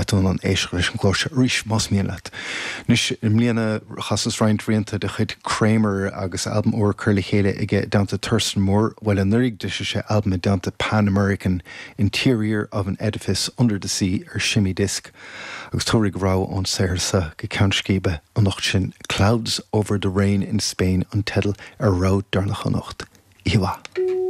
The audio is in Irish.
Beidh tú in ann éisteacht leis an gclár seo arís más mian leat. Anois, i mbliana chasas roinnt rianta de chuid Kramer agus albam úr curtha le chéile aige i dteannta Thurston Moore. Bhuel, anuraidh d'eisigh sé albam i dteannta Pan American, Interior of an Edifice Under the Sea ar Shimmy Disc agus tabharfaidh rogha ón saothar seo go ceann scríbe anocht sin Clouds Over the Rain in Spain an teideal ar rogha deireanach anocht. Oíche mhaith.